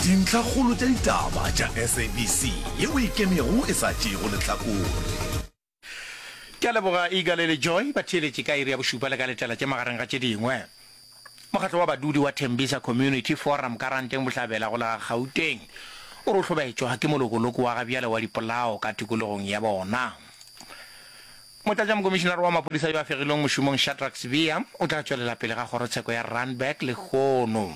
Dintlhakgolo tša ditaba tša SABC yeo e ikemego e sa tšeego lehlakore. Ke a leboga Eagle le Joy ba theeletše ka iri ya bošupa le ka letela tše magareng ga tše dingwe. Mokgatlo wa badudi wa Tembisa Community Forum ka Ranteng Bohlabela go la Gauteng o re o hlobaetšwa ke molokoloko wa gabjale wa dipolao ka tikologong ya bona. Motlatšamokomišenare wa maphodisa yo a fegilweng mošomong Shadrack Sibiya o tla tšwelela pele ga kgorotsheko ya Randburg lehono.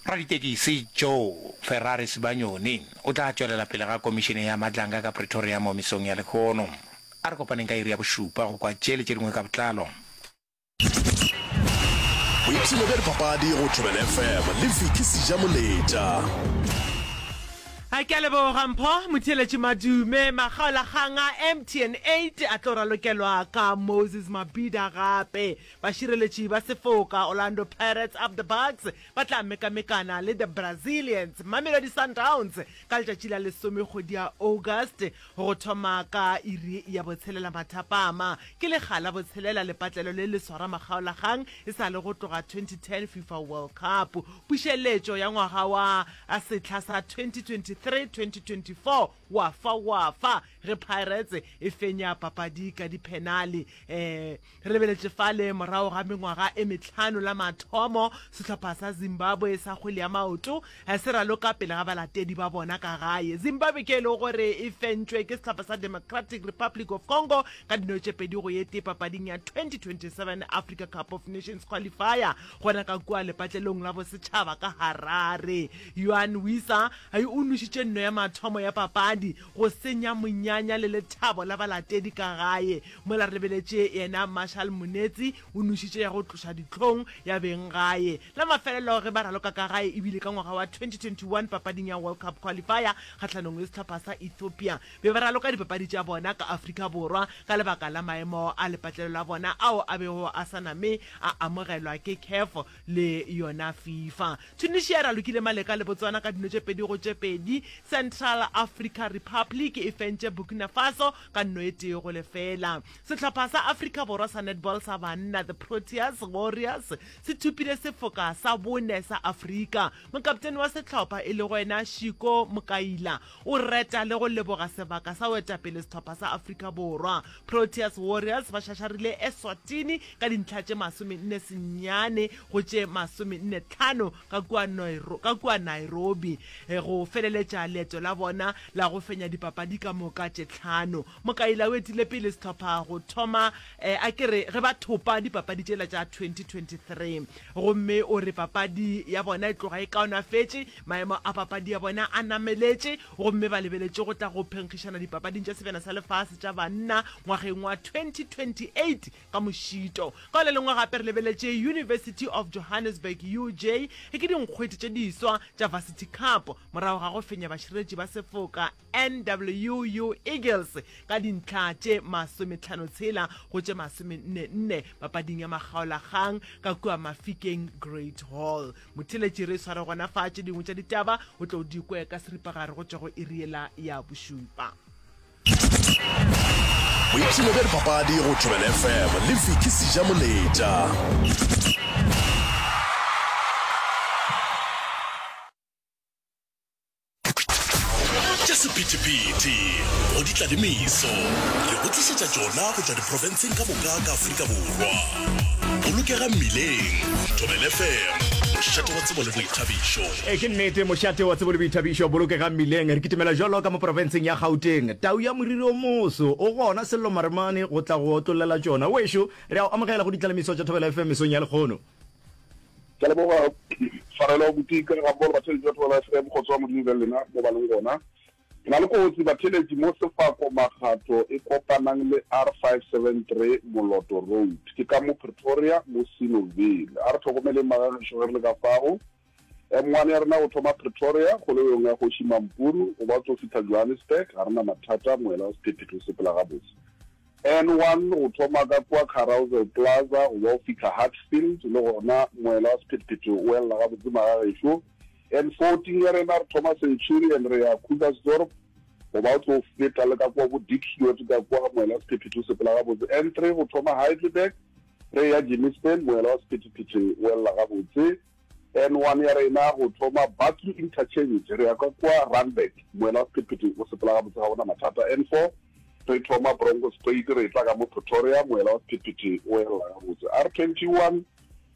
Raditekisi Joe Ferrari Sibanyoni o tla tšwelela pele ga komišene ya Madlanga ka Pretoria mo mesong ya lehono. A re kopaneng ka iri ya bošupa go kwa tše le tše dingwe ka botlalo. Boipshino bja dipapadi go Thobela FM le Vicky Sejamoletša. A ke a leboga Mpho Motheeletši Madume. Makgaolakgang a MTN 8 a tlo ralokelwa ka Moses Mabhida gape. Bašireletši ba sefoka Orlando Pirates up the Bucks ba tla mekamekana le the Brazilians Mamelodi Sundowns ka letšatši la lesome kgwedi ya August go thoma ka iri ya botshelela mathapama. Ke lekga la botshelela lepatlelo le le swara makgaolakgang e sa le go tloga 2010 FIFA World Cup. Pušeletšo ya ngwaga wa sehla sa 2023-2024 wa fa wa fa ge Pirates e fenya papadi ka diphenale. Re lebeletše fale morago ga mengwaga e mehlano la mathomo sehlopha sa Zimbabwe sa kgwele ya maoto se raloka pele ga balatedi ba bona ka gae. Zimbabwe ke e lego gore e fentšwe ke sehlopha sa Democratic Republic of Congo ka dino tše pedi go ye tee papading ya 2027 Africa Cup of Nations qualifier gona ka kua lepatlelong la bosetšhaba ka Harare. Yoane Wissa o nwešitše nno ya mathomo ya papadi go senya monyanya le lethabo la balatedi ka gae. Mola re lebeletše yena Marshall Munetsi o nwešitše ya go tloša dihlong ya beng gae. La mafelelo ge ba raloka ka gae e bile ka ngwaga wa 2021 papading ya World Cup Qualifier kgahlanong le sehlopha sa Ethiopia. Be ba raloka dipapadi tša bona ka Afrika Borwa ka lebaka la maemo a lepatlelo la bona ao a bego a sa name a amogelwa ke Caf le yona FIFA. Tunisia e ralokile Maleka le Botswana ka dino tše pedi go tše pedi. Central Africa Republic e fentše Burkina Faso ka nno e tee go lefela. Sehlopha sa Afrika Borwa sa netball sa banna, The Proteas Warriors, se thopile sefoka sa bone sa Afrika. Mokaptene wa sehlopha e lego yena Shiko Mokaila o reta le go leboga sebaka sa go etapele sehlopha sa Afrika Borwa. Proteas Warriors ba šašarile Eswatini ka dintlha tše 49 go tše 45 ka kua ka kua Nairobi go feleletša leeto la bona la go fenya dipapadi ka moka tše tlhano. Mokaila o etile pele sehlopha go thoma a ke re ge ba thopa dipapadi tšela tša 2023 gomme o re papadi ya bona e tloga e kaonafetše, maemo a papadi ya bona a nameletše gomme ba lebeletše go tla go phenkgišana dipapading tša Sebjana sa Lefase tša Banna ngwageng wa 2028 ka mošito. Ka le lengwe gape re lebeletše University of Johannesburg, UJ, e ke dinkgwete tše diswa tša Varsity Cup morago ga go fenya bašireletši ba sefoka NWU Eagles ka dintlha tše masometlhanotshela go tše masomennenne papading ya makgaolakgang ka kua Mafikeng Great Hall. Motheeletši re sware gona fa tše dingwe tša ditaba o tlo di kwe ka seripagare go tšwa go iri yela ya bošupa. Boipshino bja dipapadi go Thobela FM le Vicky Sejamoletša. Tša sephethephethe go di tla le meso, re go tlišetša tšona go tšwa diprofenseng ka moka ka Afrika Borwa. Bolokega mmileng, Thobela FM, mošate wa tsebo le boithabišo. E ke nnete, mošate wa tsebo le boithabišo, bolokega mmileng. Re kitimela bjalo ka mo profenseng ya Gauteng. Tau ya moriri o moso o gona Sello Maremane go tla go otlollela tšona. Wešo, re a o amogela go ditlalemiso tša Thobela FM mesong ya lekgono. Ke a leboga tshwarelo Botika ga mmogo le batheeletši ba Thobela FM kgotso wa Modimo be le lena mo ba leng gona. Ke na le kotsi batheeletši mo Sefako Makgatho e kopanang le R573 Moloto Road. Ke ka mo Pretoria mo Sinoville. A re tlhokomeleng magagešo ge re le ka fago. M1 ya rena go thoma Pretoria kgoleyong ya Kgoši Mampuru go ba tso fihla Johannesburg ga re na mathata moela wa sephethephethe o sepela gabotse. N1 go thoma ka kua Carousel Plaza go ba go fihla Hartsfield le gona moela wa sephethephethe o elela gabotse magagešo. N14 ya rena re thoma Centurion re ya Krugersdorp go ba o tlo feta le ka kua bo Diepsloot ka kua moela wa sephethephethe o sepela gabotse. N3 go thoma Heidelberg re ya Germiston moela wa sephethephethe o elela gabotse. N1 ya rena go thoma Barkly Interchange re ya ka kua Randburg, moela wa sephethephethe o sepela gabotse ga go na mathata. N4 re thoma Bronkhorstspruit re etla ka mo Pretoria, moela wa sephethephethe o elela gabotse. R21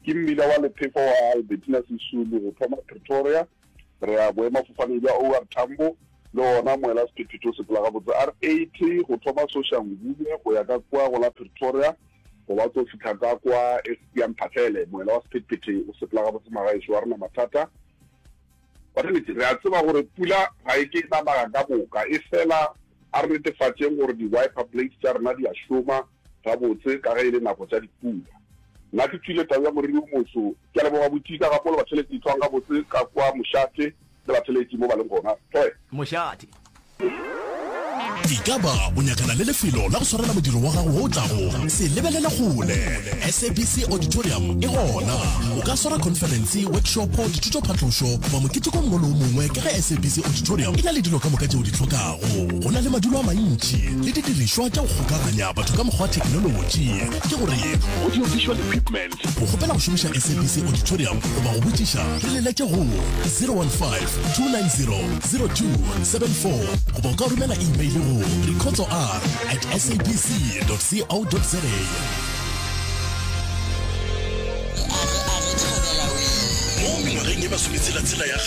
ke mmila wa lephefo wa Albertina Sisulu go thoma Pretoria re ya boemafofaneng bja OR Tambo, le gona moela wa sephethephethe o sepela gabotse. R80 go thoma Soshanguve go ya ka kua go la Pretoria, Go ba tlo fihla ka kwa ya Mphahlele, moela wa sephethephethe o sepela gabotse magaešo, ga re na mathata. Batheeletši, re a tseba gore pula ga e ke e na naga ka moka, efela a re netefatšeng gore di-wiper blades tša rena di a šoma gabotse ka ge e le nako tša dipula. Nna ke tšwile tau ya moriri o moso. Ke a leboga Botika gape le batheeletši hlwang gabotse ka kwa mošate le batheeletši mo ba leng gona. Toe. Mošate. Ekaba o nyakana le lefelo la go swarela modiro wa gago wo o tlago? Se lebelele kgole! SABC Auditorium e gona. O ka swara khonferense, workshopo, dithutophatlošo goba moketeko o mongwe le o mongwe ka ge SABC Auditorium e na le dilo ka moka tše o di hlokago. Go na le madulo a mantši le didirišwa tša go kgokaganya batho ka mokgwa wa theknolotši, ke gore audio-visual equipment. Go kgopela go šomiša SABC Auditorium goba go botšiša, re leletše go 015 290 0274 goba o ka romela email go rikhotsoR at sabc.co.za. Mo mengwageng ye masometshela-tshela ya.